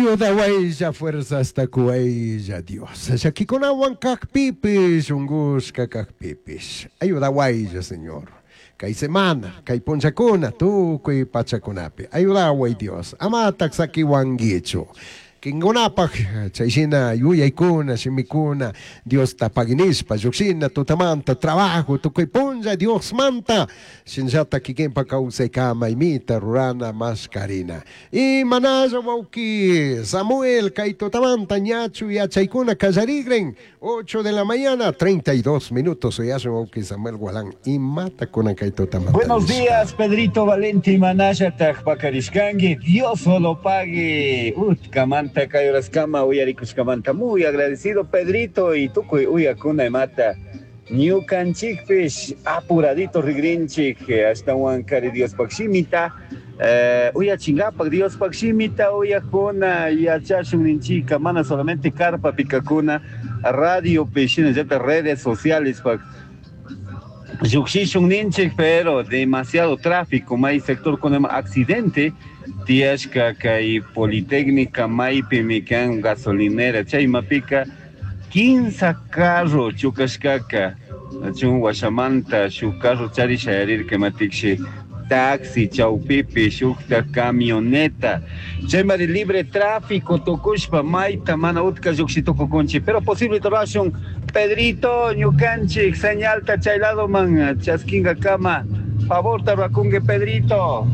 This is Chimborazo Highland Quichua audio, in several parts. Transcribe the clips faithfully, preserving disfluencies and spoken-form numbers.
Ayudawaylla fuerzasta kuwaylla Dios. Llakikunawan kajpipish, ungushka kajpipish. Ayudawaylla, Señor. Kay semana, kay punllakuna, tukuy pachakunapi. Ayudaway Dios. Amatak sakiwankichu. Kinkunapaj chayshina yuyaykuna, shimikuna, Diosta paginishpa, lluqshina tutamanta, trabajo, tukuy punlla Diosmanta, shinllata kikinpa kawsaykama imita rurana mashkarina. Y manalla wawki Samuel kay tutamanta ñachu yachaykuna kallarigren, ocho de la mañana, treinta y dos minutos, uyashun wawki Samuel Gualán, imata kunan kay tutamanta. Buenos días, Pedrito Valenti, manallataj pakarishkanki, Dios solo pague. Utkamanta kay horaskama uyarikushkamanta muy agradecido, Pedrito, y tukuy uyakuna imata. Ñukanchikpish apuradito rigrinchik ashtawan kari Diospaj shimita eh, uyachingapak. Diospaj shimita uyakuna yachashun ninchika, mana solamente carpa pikakuna radiopi shinallata redes sociales pak llukshishun ninchik, pero demasiado tráfico may sector con accidente tiyashka kay Politécnica maypimi kan gasolinera chaymapika quince carro chukashkaka chun washamanta shuk carro chari shayarirka matikshi taxi chawpipi shukta camioneta chaymari libre tráfico tukushpa mayta mana utka llukshi tukukunchik, pero posible rurashun, Pedrito, ñukanchik señalta chay ladoman chaskinga kama favorta rurakunki, Pedrito.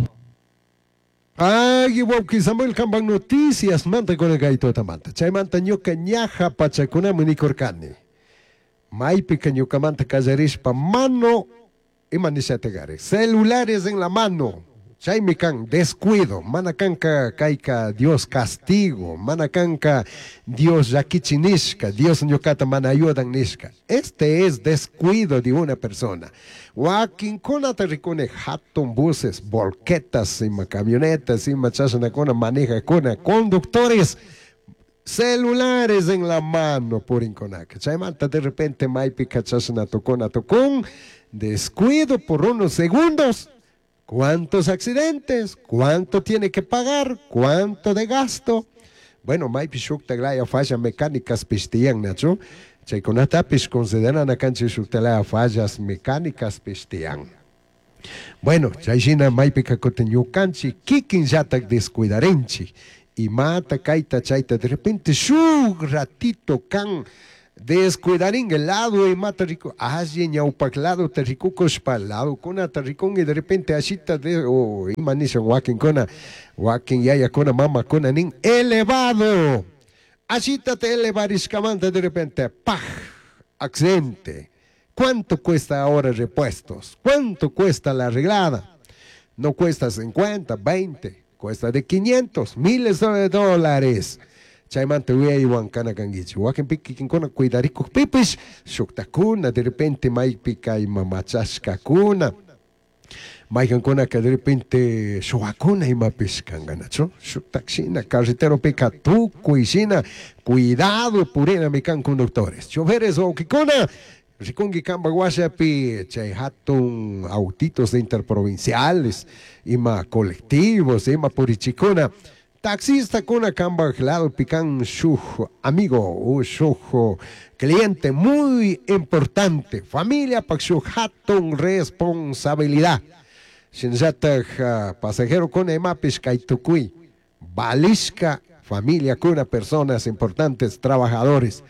Ay, wawki Samuel, kampan noticias manta con el gaito tamanta. Chaymanta ñuka ñaja pachakunami nikurkani. Maypika ñukamanta kallarishpa mano, ima nishatigari, celulares en la mano. Chaymi kan descuido, mana kanka kayka Dios castigo, mana kanka Dios llakichi nishka, Dios ñukata mana ayudan nishka. Este es descuido de una persona. Wakinkunata rikuni hatun buses, volquetas, ima camionetas, ima chashnakuna manejakuna, conductores, celulares en la mano purinkunaka. Chaymanta de repente maypika chashna tukuna tukun, descuido por unos segundos. ¿Cuántos accidentes? ¿Cuánto tiene que pagar? ¿Cuánto de gasto? Bueno, maypi shukta falla mecánicas pish tiyan, nachu. Chaykunatapish consideran kanchik shuktalaya fallas mecánicas pish tiyan. Bueno, chayshina maypika kutin ñukanchik kikinllatak descuidarinchik. Imata kayta chayta de repente shuk ratito kan descuidarin el lado imata riku alli ñawpak lado te rikukushpa lado kunata rikunki de repente ashita de o ima nishan wakinkuna wakin yayakuna mamakuna nin elevado ashita te elevarishkamanta de repente ¡paj! Accidente. ¿Cuánto cuesta ahora repuestos? ¿Cuánto cuesta la arreglada? No cuesta cincuenta, veinte, cuesta de quinientos, miles de dólares. Chaymanta uyaywan kana kankichik wakinpi kikinkuna cuidarikukpipish shuktakuna de repente maypika ima machashkakuna maykankunaka de repente shuwakuna imapish kankanachu shuktak shina carreteropika tukuy shina cuidado purinami kan conductores, choferes. Wawkikuna, rikunki kampak washapi chay hatun autitos de interprovinciales, ima colectivos, ima purichikuna, taxista kuna kampak lado pican shuk amigo o shuk cliente muy importante, familia pak shuk hatun responsabilidad. Shinallatak pasajero kuna imapish kay tukuy valishka familia kuna, personas importantes, trabajadores,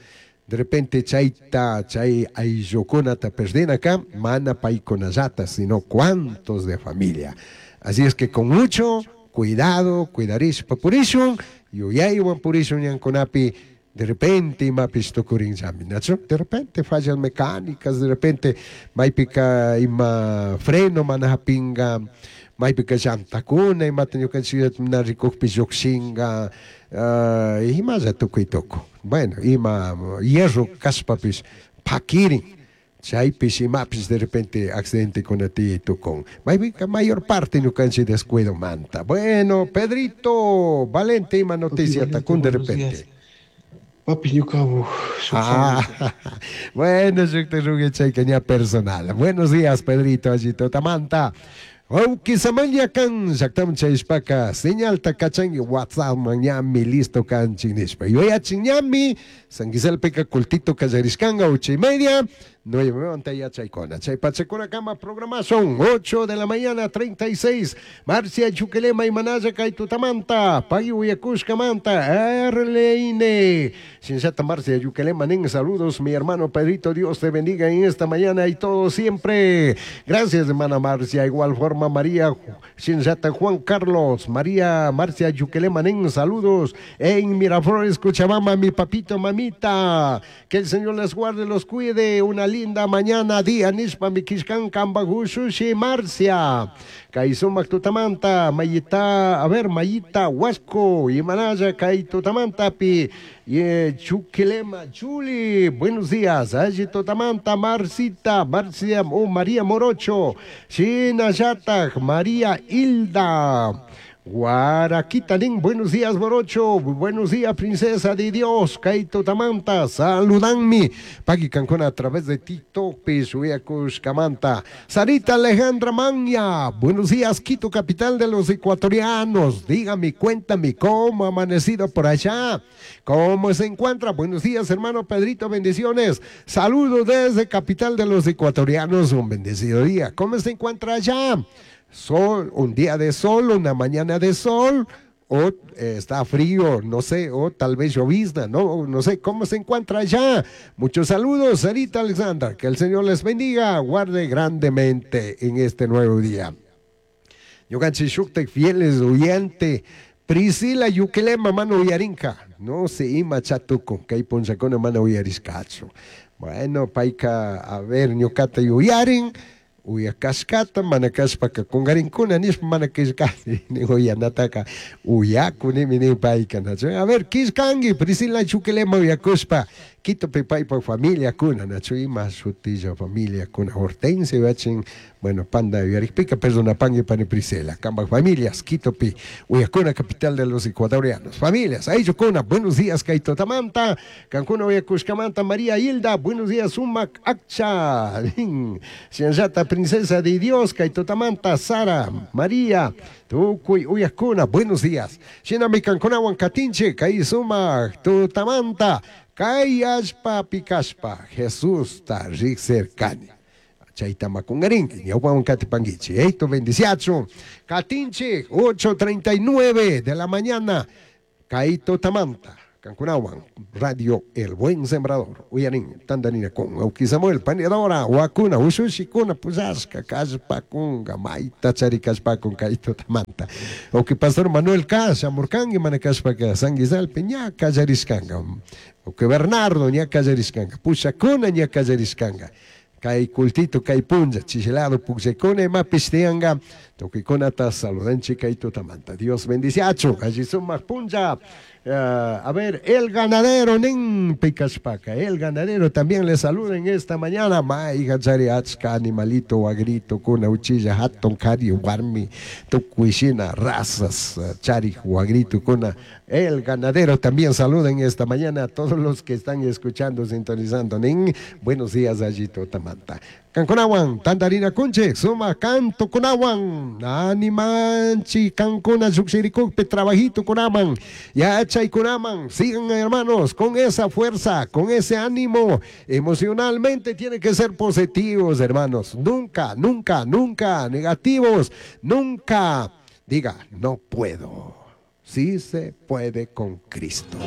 de repente chayta chay ayllukunata perdina mana paykunallata sino cuantos de familia. Así es que con mucho cuidado cuidarishpa purishun, yuyaywan purishun ñankunapi. De repente imapish tukurinllami, nachu, de repente fallas mecánicas, de repente maypika ima freno mana hapinga, maypika llantakuna imata ñukanchik na rikukpi llukshinga, uh, imalla tukuy tuku. Bueno, ima hierro kashpapish pakirin, chaypish imapish de repente accidente kuna tiyay tukun. Maypika mayor parte ñukanchik descuido manta. Bueno, Pedrito Valente, ima noticia takun de repente? Papi, ñukabu. Ah, bueno, chayka ña personal. Buenos días, Pedrito, allito tamanta. Auki Samuel Yakan, llaktaman chayashpaka, señalta kachanki WhatsApp ñami listo kanchik nishpa. Yuyachin ñami, San Giselpika cultito kallarishkanka ocho y media, nueve yachaykuna. Chay pachakuna kama programación, ocho de la mañana, treinta y seis. Marcia Chuquilema y Manaya Kaitutamanta, Pagui Uyakushkamanta, Erleine. Shinshata Marcia Yuquilema, nin, saludos, mi hermano Pedrito, Dios te bendiga en esta mañana y todo siempre. Gracias, hermana Marcia. Igual forma, María Shinshata Juan Carlos, María Marcia Yuquilema, nin, saludos. En Miraflores, Cochabamba, mi papito, mamita. Que el Señor les guarde, los cuide. Una linda mañana, día, nishpa, mi kishkan, kambagushushi, Marcia. Kaisumak tutamanta, Mayita, a ver, Mayita, Huasco, y Manaya, Kaitutamanta, pi, y Chuquilema, Chuli, buenos días, allí Totamanta, Marcita, Marcia, oh, María Morocho, Shinayata, María Hilda, Guaraquita, nin, buenos días, Morocho, buenos días, princesa de Dios, Kaito Tamanta, saludanmi, Paqui Cancuna a través de TikTok, Pisuyacushcamanta, Sarita Alejandra Maña, buenos días, Quito, capital de los ecuatorianos, dígame, cuéntame, ¿cómo ha amanecido por allá? ¿Cómo se encuentra? Buenos días, hermano Pedrito, bendiciones, saludos desde capital de los ecuatorianos, un bendecido día, ¿cómo se encuentra allá? Sol, un día de sol, una mañana de sol, o eh, está frío, no sé, o tal vez llovizna, no, no sé cómo se encuentra allá. Muchos saludos, Sarita Alexandra, que el Señor les bendiga, guarde grandemente en este nuevo día. Yoganchi Shuktek, fieles oyente, Priscila Yuquilema, mano uyarinka, no se ima chatuco, kay ponchacona mano uyariscacho. Bueno, paika, a ver, ñocata yuyarin, uyakashkata, mana kashpaka kungarinkuna, nishpa mana kishkani, ni uyanataka, uyakuni, ni payka, nachu. A ver, kishkangi, Priscila Chuquilema uyakushpa, Quito paypa familia kuna, nachu, ima shutilla familia kuna, Hortensia, bachin, bueno, panda uyarikpika, perdona, pangi, pani Priscila, kamba familias, Quito pi, uyakuna, capital de los ecuatorianos, familias, ahí yukuna, buenos días, Kaito Tamanta, Cancuna uyakushkamanta, María Hilda, buenos días, Sumac Akcha, Shinshata, princesa de Dios, Kaitotamanta, Sara, María, Tukuy, Uyakuna, buenos días. Shinami Cancunawan Katinche, Kaizuma, Tutamanta, Kayashpa, Pikashpa, Jesús ta Rixercani. Chaitamakungarinki, Ñaupawan Katipanguichi, Esto bendiciacho. Katinche, ocho treinta y nueve de la mañana, Kaito Tamanta. Cancunawan, Radio El Buen Sembrador, Uyarin, Tandanina con Auki Samuel, Panedora, Huacuna, Ushushikuna, Puzasca, Kashpakunga, Maita, Charicashpacun, Kaito Tamanta. Auki Pastor Manuel Kasha, Murkangi, Manacashpaca, Sanguizal, Peña, Kayariscanga, Auki Bernardo, Ña Kayariscanga, Pushacuna, Ña Kayariscanga. Kay cultito, kay punja, chichelado, puxecone, mapistianga, toquiconata, saludanchi, kaito tamanta. Dios bendiciacho, allí suma punja. Uh, a ver, el ganadero, nin picaspaca, el ganadero también le saluda en esta mañana. Maiga, chariachka, animalito, agrito, cuna, uchilla, haton, cari, warmi, tucuishina, razas, chari, guagrito, cuna. El ganadero también saluda en esta mañana a todos los que están escuchando, sintonizando. Nin, buenos días, allito, tamanta. Cancunawan, tandarina kunche, suma canto kunawan, animanchi, cancuna, yuxiricukpe, trabajito kunaman, yachay kunaman. Sigan, hermanos, con esa fuerza, con ese ánimo. Emocionalmente tienen que ser positivos, hermanos. Nunca, nunca, nunca negativos. Nunca diga, no puedo. Sí se puede con Cristo.